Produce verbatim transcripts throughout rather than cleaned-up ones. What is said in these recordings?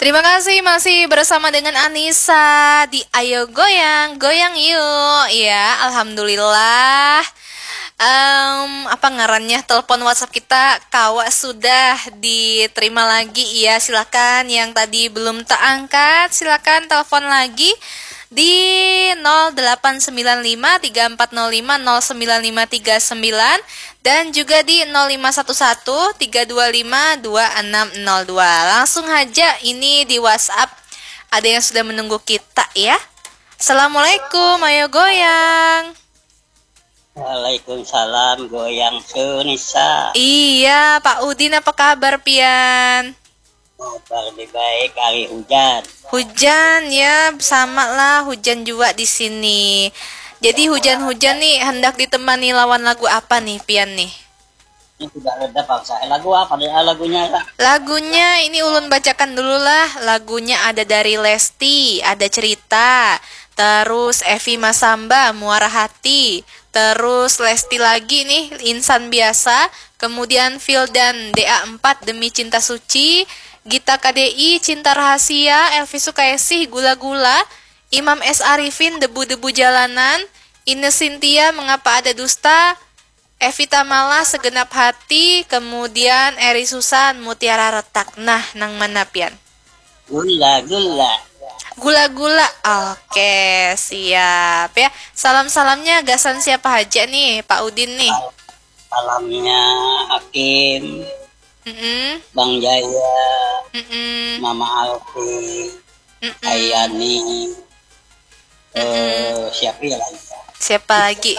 Terima kasih, masih bersama dengan Anissa di Ayo Goyang, Goyang Yuk. Ya, alhamdulillah. Em, apa ngarannya, telepon WhatsApp kita kawa sudah diterima lagi. Ya, silakan yang tadi belum terangkat, silakan telepon lagi di nol delapan sembilan lima tiga empat nol lima nol sembilan lima tiga sembilan dan juga di nol lima satu satu tiga dua lima dua enam nol dua. Langsung haja ini di WhatsApp. Ada yang sudah menunggu kita ya. Assalamualaikum, ayo goyang. Waalaikumsalam, goyang Sunisa. Iya, Pak Udin, apa kabar pian? Kabar lebih baik, hari hujan. Hujan ya, sama lah, hujan juga di sini. Jadi hujan-hujan nih hendak ditemani lawan lagu apa nih pian nih? Ini sudah reda bangsa. Eh, lagu apa nih? Ah, lagunya, Kak? Lagunya ini ulun bacakan dulu lah. Lagunya ada dari Lesti, ada Cerita, terus Evi Masamba, Muara Hati, terus Lesti lagi nih, Insan Biasa, kemudian Vildan, D A empat, Demi Cinta Suci, Gita K D I, Cinta Rahasia, Elvi Sukaesih, Gula-Gula, Imam S Arifin, Debu-Debu Jalanan, Ine Cynthia, Mengapa Ada Dusta, Evita Mala, Segenap Hati, kemudian Eri Susan, Mutiara Retak. Nah, nang mana pian? Gula, gula. Gula-gula. Oke, siap ya. Salam-salamnya gasan siapa haja nih, Pak Udin nih? Salamnya Hakim, Mm-mm, Bang Jaya, mm-mm, Mama Alfi, mm-mm. Ayani, eh, siapa ya lagi? Siapa lagi?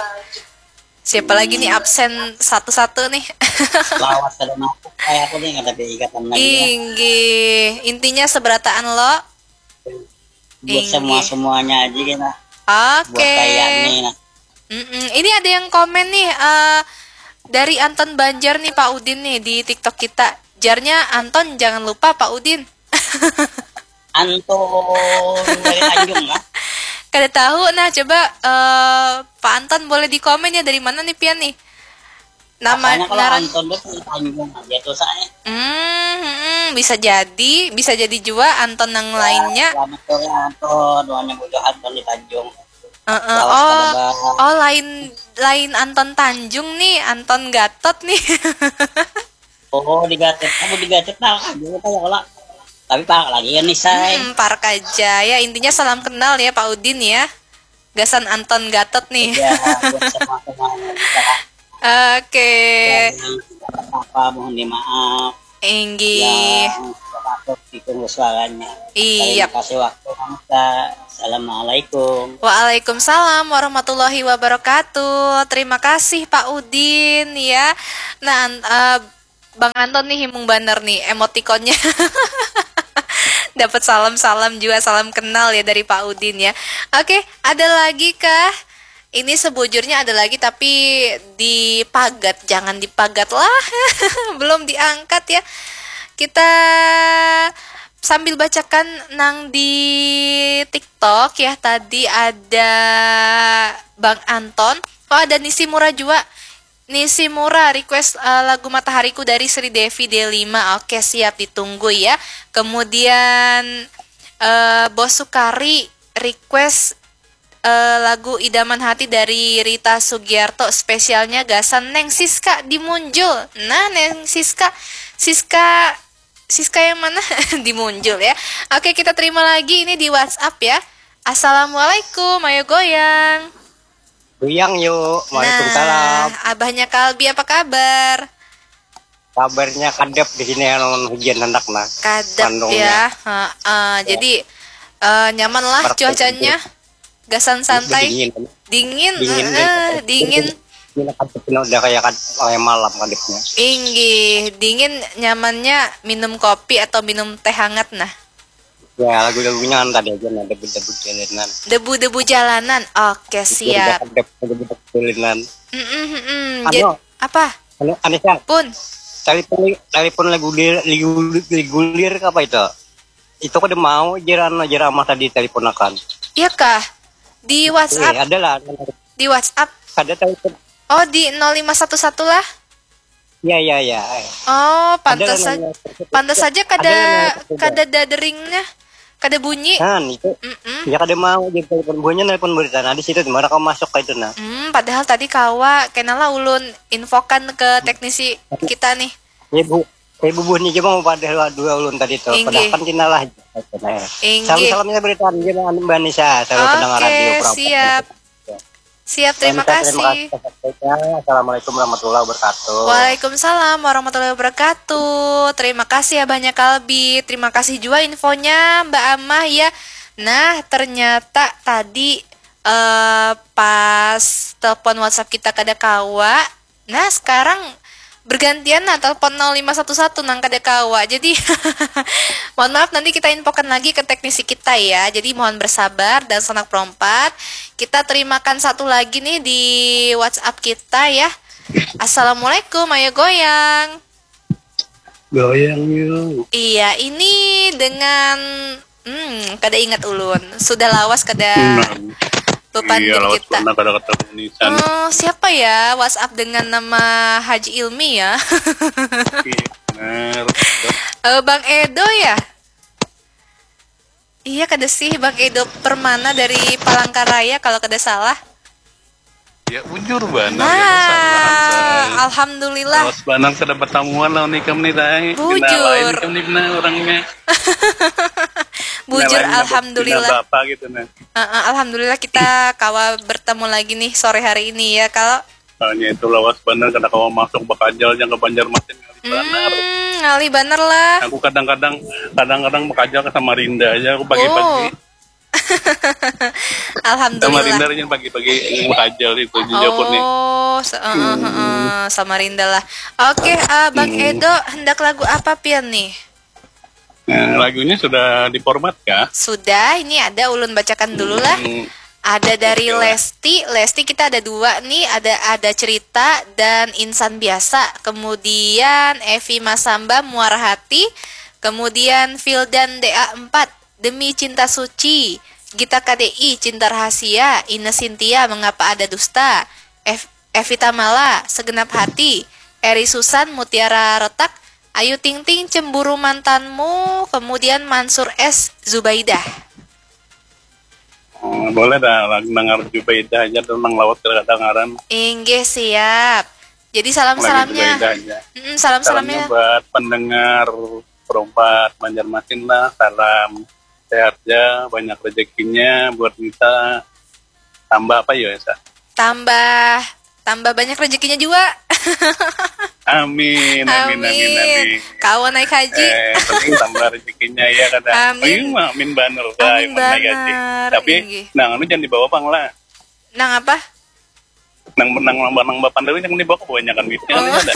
Siapa lagi nih absen satu-satu nih? Lawas kada masuk kayak aku nih, kada ada ikatan lagi ya. Inggih, intinya seberataan lo. Buat Inggih. Semua-semuanya aja kita. Buat Oke. Ayani, nah. Mm-mm. Ini ada yang komen nih, eh, dari Anton Banjar nih, Pak Udin nih, di TikTok kita. Jarnya, "Anton, jangan lupa Pak Udin." Anton dari Tanjung lah. Kada tahu, nah, coba, eh, Pak Anton boleh di komen ya, dari mana nih pian nih? Nama Makanya kalau ngaran Anton tuh dari Tanjung aja tuh saya. Hmm, hmm, bisa jadi, bisa jadi juga Anton yang lainnya. Selamat sore Anton, doanya bojo Anton di Tanjung. Heeh. Lawas Oh, kada ba- oh, lain, lain Anton Tanjung nih, Anton Gatot nih. Oh, di Gatot, kamu di Gatot nah, aja kita ya lah. Tapi pak lagi ya nih saya. Hmm, park aja ya, intinya salam kenal ya, Pak Udin ya. Gasan Anton Gatot nih. Ya, buat semua-semuanya kita. Oke. Yang apa mohon dimaaf. Inggih. Yang termasuk di tunggu suaranya. Iya. Terima kasih waktu kita. Assalamualaikum. Waalaikumsalam warahmatullahi wabarakatuh. Terima kasih, Pak Udin ya. Nah, an- eh, Bang Anton nih himung banar nih emotikonnya. Dapat salam-salam juga, salam kenal ya dari Pak Udin ya. Oke, ada lagi kah? Ini sebujurnya ada lagi, tapi dipagat, jangan dipagat lah. Belum diangkat ya. Kita sambil bacakan nang di TikTok ya, tadi ada Bang Anton. Oh, ada Nishimura juga. Nishimura request, eh, lagu Matahariku dari Sri Devi D lima. Oke, siap, ditunggu ya. Kemudian, eh, Bos Sukari request, eh, lagu Idaman Hati dari Rita Sugiarto, spesialnya gasan Neng Siska di Munjul. Nah, Neng Siska, Siska, Siska yang mana? Di Munjul ya. Oke, kita terima lagi ini di WhatsApp ya. Assalamualaikum, ayo goyang. Goyang yuk. Waalaikumsalam. Nah, abahnya Kalbi, apa kabar? Kabarnya kadep di sini, anu, hujan hendak nah. Kadep Bandungnya. Ya. Heeh. Jadi, eh, nyaman lah cuacanya. Gasan santai. Dingin. Dingin, Dingin. heeh, dingin. Ini kadep ini udah kayak kad- kayak malam kadepnya. Inggih, dingin nyamannya minum kopi atau minum teh hangat nah. Ya, lagu-lagunya kan tadi aja nah, debu-debu jalanan. Debu-debu jalanan. Oke, siap. Kadep, debu-debu jalanan. Mm-mm, mm-mm. Anu. Jad- apa? Anu, Anissa, Pun. telepon, telepon lagu lir, lagu, lagu lir apa itu? Itu kada mau jiran, jiran mah tadi teleponakan. Iya kah? Di WhatsApp. Eh, ada lah. Di WhatsApp. Ada telepon. Oh, di nol lima satu satu lah. Iya, iya, iya. Oh, pantas saja. Pantas saja kada kada daderingnya. Kada bunyi. Nah, itu. Mm-mm. Ya kada mau jadi telepon buahnya, nelpon berita. Nah, di situ di mana kamu masuk ke itu, nah. Hmm, padahal tadi kawa, kenalah ulun infokan ke teknisi kita nih. Ibu, ibu buahnya cuma mau pada dua ulun tadi tuh. Padahal kan kinalah. Nah. Inggih. Salam salamnya berita Mbak Nisa, salam pendengar radio. Oke, siap. Siap, terima kasih. Assalamualaikum warahmatullahi wabarakatuh. Waalaikumsalam warahmatullahi wabarakatuh. Terima kasih ya banyak Kalbi. Terima kasih juga infonya Mbak Amah ya. Nah, ternyata tadi eh, pas telepon WhatsApp kita kada kawa. Nah, sekarang bergantian nah telepon nol lima satu satu nang kada kawa. Jadi mohon maaf, nanti kita infokan lagi ke teknisi kita ya. Jadi mohon bersabar dan sanak perompat. Kita terimakan satu lagi nih di WhatsApp kita ya. Assalamualaikum, ayo goyang. Goyang yuk. Iya, ini dengan Hmm, kada ingat ulun. Sudah lawas kada bepandir iya, kita. Kada ketemu nisan. Oh, siapa ya WhatsApp dengan nama Haji Ilmi ya? Iya, benar. Uh, Bang Edo ya? Iya, kada sih Bang Edo Permana dari Palangkaraya kalau kada salah. Ya bujur banar. Nah, alhamdulillah. Terus banar kada bertamuan lawan ikam nih, Tay. Bujur. Ikam nih benar orangnya. Bujur, alhamdulillah. Bapa gitu nah. Uh, uh, alhamdulillah kita kawa bertemu lagi nih sore hari ini ya, kalau. Soalnya itu lawas banar kada kawa masuk bakajal yang ke Banjarmasin ngalih banar. Hmm, ngalih banar lah. Aku kadang-kadang kadang-kadang bakajal ke Samarinda aja aku pagi-pagi. Oh. Alhamdulillah. Samarinda yang pagi-pagi yang bakajal itu di Joko nih. Oh, se- uh, uh, uh, Samarinda lah. Oke, uh, Bang hmm. Edo, hendak lagu apa pian nih? Nah, lagunya sudah diformat kah? Sudah, ini ada ulun bacakan dulu lah. Hmm. Ada dari Lesti, Lesti kita ada dua nih, ada ada cerita dan insan biasa. Kemudian Evi Masamba Muara Hati, kemudian Fildan D A empat. Demi Cinta Suci, Gita K D I, Cinta Rahasia, Ine Sintia, Mengapa Ada Dusta, Ev Evita Mala, Segenap Hati, Eri Susan, Mutiara Retak, Ayu Ting Ting, Cemburu Mantanmu, kemudian Mansur S, Zubaidah. Hmm, boleh dah, dengar Zubaidah aja tuh nang lawas kedengaran. Inggih, siap. Jadi salam-salamnya. Mm, salam-salamnya buat pendengar Perompat Banjarmasin lah, salam sehat ya, banyak rezekinya buat kita. Tambah apa ya, Sa? Tambah tambah banyak rezekinya juga. Amin, amin, amin, amin. Kawan naik haji. Eh, penting tambah rezekinya ya kata. Amin. Amin, amin banner. Amin banner. Tapi, nah, anu jangan dibawa pang lah. Nang apa? Nang nang nang nang bapan tapi nang dibawa kebanyakan duitnya oh. Ada.